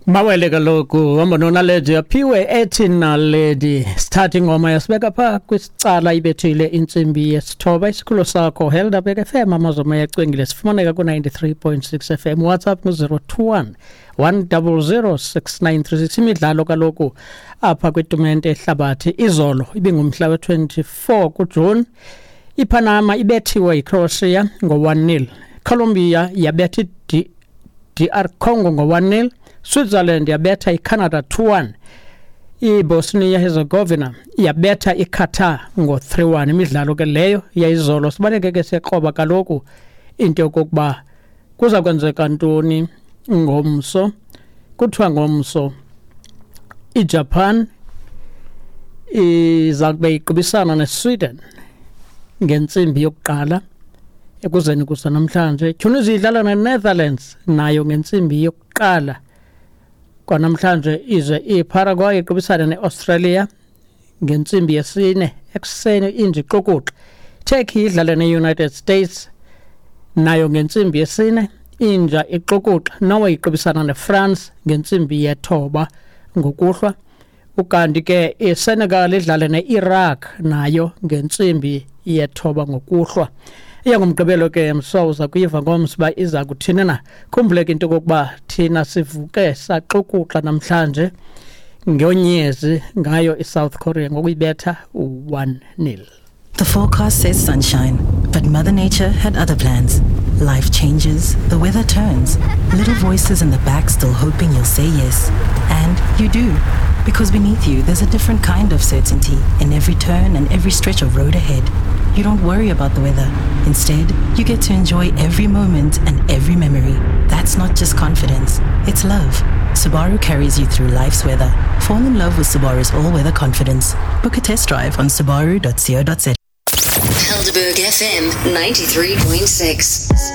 Mawele kaloku hamba noNaledi aphiwe ethi Naledi. Sithatha ingoma yasibeka pha kwisicala ibethile intsimbi yesithoba. Isikhululo sakho Helderberg FM, amazoma yacwengile, sifumaneka ku-93.6 FM. WhatsApp ngu-021 100 6936. Imidlalo kaloku apha kwitumente ehlabathi izolo ibingumhla we-24 kuJuni. IPanama ibethiwe yiCroatia ngo-1-0, Colombia yabetha i-DR Congo ngo-1-0, Switzerland yabetha iCanada 2-1, iBosnia Herzegovina yabetha iQatar ngo-3-1. Imidlalo ke leyo yayizolo. Sibaleke ke siyakroba kaloku into yokokuba kuza kwenzeka ntoni ngomso. Kuthiwa ngomso iJapan iza kube iqubisana neSweden ngentsimbi yokuqala ekuzeni kusa namhlanje. Tunisia idlala neNetherlands nayo ngentsimbi yokuqala kwanamhlanje, ize iParaguay iqubisane neAustralia ngentsimbi yesine ekuseni inje ixukuxa. Turkey idlale ne-United States nayo ngentsimbi yesine inja ixukuxa. Norway iqubisana neFrance ngentsimbi yethoba ngokuhlwa. Ukanti ke iSenegal idlale ne-Iraq nayo ngentsimbi yethoba ngokuhlwa. Iya ngomgqibelo ke mso uza kuyiva ngomso uba iza kuthini na. Khumbuleke into okokuba thina sivuke saxukuxa namhlanje ngonyezi ngayo iSouth Korea ngokuyibetha u-1-0. The forecast says sunshine, but Mother Nature had other plans. Life changes, the weather turns, little voices in the back still hoping you'll say yes. And you do. Because beneath you, there's a different kind of certainty in every turn and every stretch of road ahead. You don't worry about the weather. Instead, you get to enjoy every moment and every memory. That's not just confidence, it's love. Subaru carries you through life's weather. Fall in love with Subaru's all-weather confidence. Book a test drive on subaru.co.za. Helderberg FM 93.6.